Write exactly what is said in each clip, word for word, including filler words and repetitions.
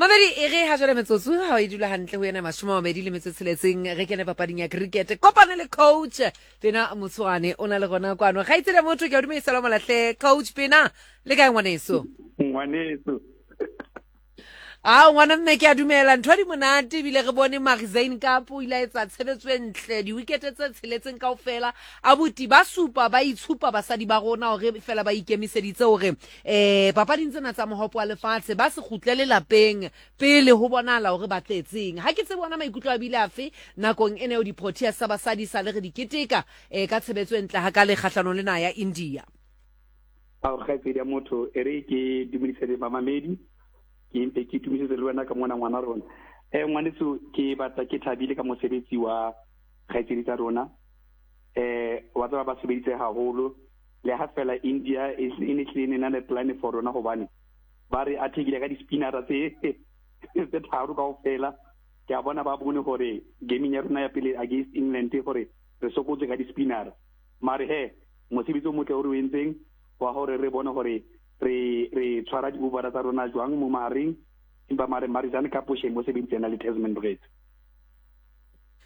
Mamedi e re ha jwale metsotso ha e dula hantle ho yena mashome a mabedi le metso e tsheletseng, re kene papading ya cricket. Kopane le coach Pena Motshwane, o na le rona kwano. Kgaitsedi motho, ke a o dumedisa le molahle. Coach Pena, le kae ngwaneso? Ngwaneso. A ngwana mme, ke a dumela ntho di monate, ebile re bone Marizane Kapo o ile a etsa tshebetso e ntle, diwikete tse tsheletseng kaofela. Abuti ba supa ba itshupa basadi ba rona hore fela ba ikemiseditse hore um papading tsena tsa mohopo wa lefatshe ba se kgutlele lapeng pele ho bonahala hore ba tletseng. Ha ke tsebe bona maikutlo a bile afe nakong ena eo di-Proteas tsa basadi sa le re di keteka um ka tshebetso e ntle hakale kgahlanong le naha ya India. Ao kgaitsedi ya motho, e re ke dumedise le bamamedi, ke mpe ke tumisetse le wena ka mona ngwana rona. um ngwaneso, ke batla ke thabile ka mosebetsi wa kgaitsedi tsa rona. um wa tseba ba sebeditse haholo, le ha fela India e e ne hlile e na le plan for rona, hobane ba re attackile ka di-spinnera tse tse tharo kaofela. Ke a bona ba bone hore gaming ya rona ya pele against England hore re sokotse ka di-spinnera. Mare he, mosebetsi o motle o re o entseng wa hore re bone hore re re tshwara di-overa tsa rona jwang mo mahareng, empa mare Marizane Kapo shame, o sebeditse ena le Tazmin Brits.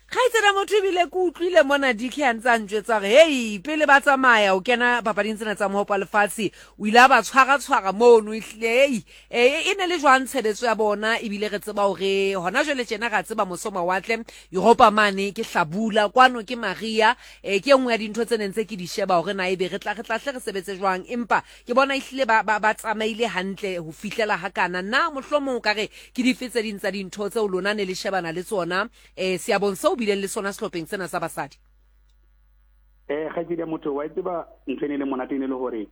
Kgaitsedi motho, ebile ke utlwile mona D K a ntse a ntjwetsa hore hei, pele ba tsamaya o kena papading tsena tsa mohopo wa lefatshe, o ile a ba tshwara-tshwara mono. Ehlile hei, e e ne le jwang tshebetso ya bona? Ebile re tseba hore hona jwale tjena ra tseba moso mawatle Europa mane ke hlabula, kwano ke maria. um ke e nngwe ya dintho tse neng tse ke di sheba hore na ebe re tla re tla hle re sebetse jwang, empa ke bona ehlile ba, ba, ba tsamaile hantle ho fihlela hakana. Na mohlomong o ka re ke dife tse ding tsa dintho tseo lona ne le shebana le tsona um seabong seo bileng le sona sehlopheng sena sa basadi? um kgaitsedi ya motho, wa e tseba ntho e ne le monate e ne le hore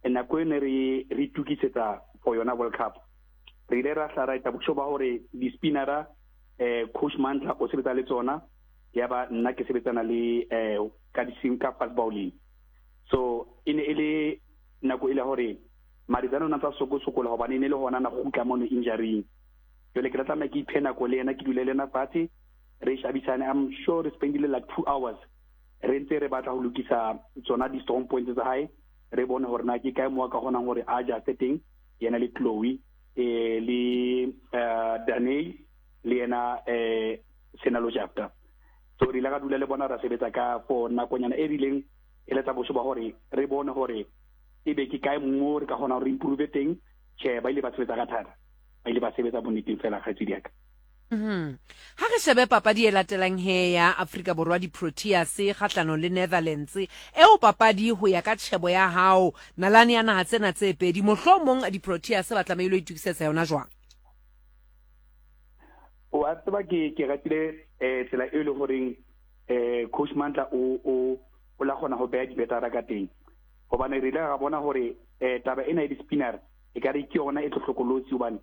nako e ne re re itukisetsa for yona World Cup, re ile ra hla ra etsa bosho ba hore di-spinnera, eh coach Mandla o sebetsa le tsona, ya ba nna ke sebetsana le eh ka di ka fast bowling. So e ne e le nako e le hore Marizane o na tsa soko sokola, hobane e ne le hona na kgutla mono injury. Jwale ke la tlameha ke iphe nako le yena, ke dule le yena fatshe, re shabisane. I'm sure re spendile like two hours re ntse re batla ho lokisa tsona di-strong points tsa hae, re bone hore na ke kae mo a ka kgonang hore a adjuste teng, yena le Chloe, eh le uh, Daney, le yena eh Sinalo Jafta. So re ile ka dula le bona, ra sebetsa ka for nakonyana e rileng, e letsa bosho ba hore re bone hore ebe ke kae mo re ka kgona hore re improve teng. Tjhe, ba ile ba sebetsa ka thata, ba ile ba sebetsa bonneteng fela, kgaitsedi ya ka. Mhm. Ha re shebe papadi e latelang he ya Afrika Borwa, di-Proteas kgahlanong le Netherlands. Eo papadi, ho ya ka tjhebo ya hao, nalane ya naha tsena tse pedi, mohlomong di-Proteas ba tlamehile ho itokisetsa yona jwang? Wa tseba ke ke ratile eh tsela e le horeng eh coach Mandla o o o la kgona ho beha dibetara ka teng, hobane re ile ra bona hore eh taba ena ya di-spinner e ka re ke yona e tlo hlokolotsi, hobane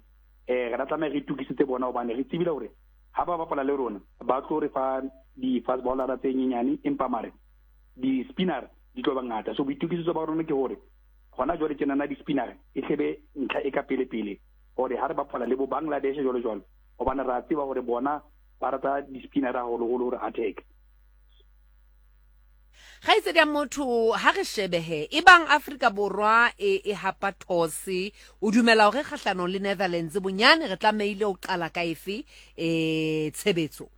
eh re tla tlameha re itukisetse bona, hobane re tsebile hore ha ba bapala le rona ba tlo re fa di-fast bowler tse nyenyane, empa mare di-spinner di tlo ba ngata. So boitukisetso ba rona ke hore hona jwale tjenana di-spinner e hlebe ntlha e ka pele pele, hore ha re bapala le bo Bangladesh jwalo jwalo, hobane re a tseba hore bona ba rata di-spinner haholoholo hore attack. Kgaitsedi ya motho, ha re shebehe e bang Afrika Borwa e, e hapa those, o dumela hore kgahlanong le Netherlands bonyane re tlamehile ho qala ka efe um tshebetso?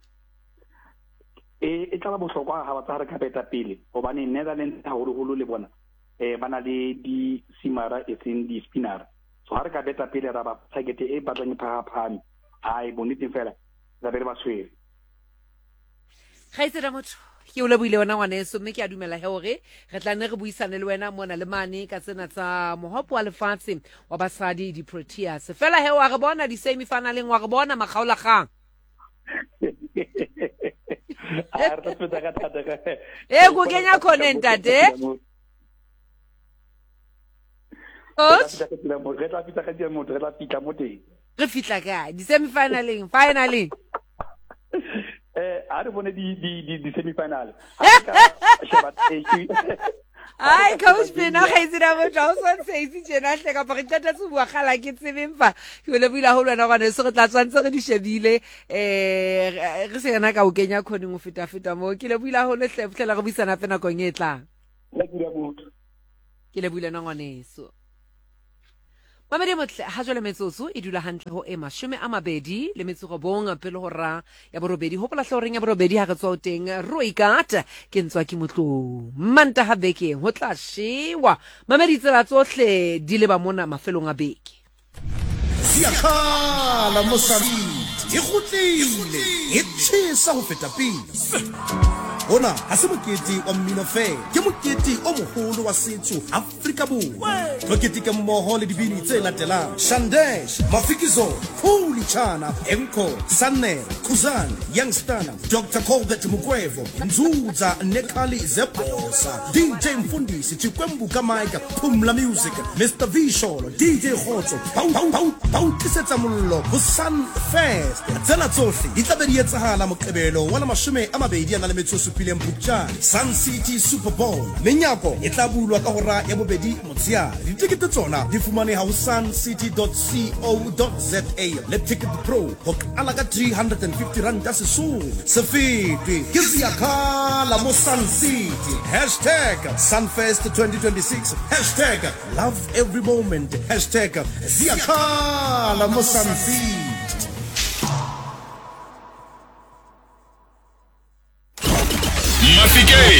E e tla ba bohlokwa ha ba tsa re ka beta pele, hobane Netherlands haholoholo le bona eh ba na le di-seamera e seng di-spinnera. So ha re ka beta pele, ra ba target e batlang e phahaphahame, hai, bonneteng fela tla be re ba tshwere. Kgaitsedi ya motho, ke o lebohile wena ngwaneso, mme ke a dumela he hore re tla nne re buisane le wena mona le mane ka tsena tsa mohopo wa lefatshe wa basadi, di-Proteas. Fela he, wa re bona di-semi-finaleng, wa re bona makgaolakgang. A re tla sebetsa ka thata ka E ko kenya khoneng, ntate. Coach? Re tla fihla ka motho, re tla fihla mo teng. Re fihla kae, di-semi-finaleng, finaleng? eh ha re bone di di di di semi-final, ha re ka sheba Turkey. Ai, coach Pena, kgaitsedi ya motho, ha o so ntshehise tjena hle, kapa re qetetse ho bua kgala ke tsebeng fa. Ke o lebohile haholo wena ngwaneso, re tla tshwantse re di shebile, um re se yena ka o kenya khoneng ho feta-feta moo. Ke lebohile haholo hle, fihlela re buisana hape nakong e tlang. Nna ke motho. Ke lebohile wena ngwaneso. Mamedi motle, ha jwale metsotso e dula hantle ho e mashome a mabedi le metso robong pele ho ra ya borobedi. Hopola hle horeng ya borobedi ha re tswa ho teng Rooikat ke ntswa ke motlong. Mantaha bekeng ho tla shewa. Mamedi tsela tsohle di leba mona mafelong a beke. Ziyakhala Mozambique e kgutlile e tjhesa ho feta pele. Ona ha se mokete wa mmino fela, ke mokete o moholo wa setso Afrika Borwa. Tlo keteka mmoho le dibini tse latelang: Shandesh, Mafikizolo, Khuli Chana, Enco, Sannere, Khuzani, Youngstana, Doctor Colbert Mukwevho, Nzuza Nekhali Zebosa, D J Mfundisi, Chikwembuka Mike, Phumla Music, Mister Visholo, D J Khotso, Bau Bau Bau Bau tlisetsa mollo ho Sun Fest. Tsena tsohle di tla be di etsahala Moqebelo wa la mashome a mabedi a na le metso e supileng Phupjane, Sun City Super Bowl. Menyako e tla bulwa ka hora ya bobedi motshehare. Ditekete tsona di fumaneha ho sun city dot co dot za le Ticket Pro ho qala ka three hundred and fifty rand Sesotho. Se fetwe ke Ziyakhala mo Sun City. Hashtag Sunfest twenty twenty-six. Hashtag love every moment. Hashtag Ziyakhala mo Sun City. Mafikeng.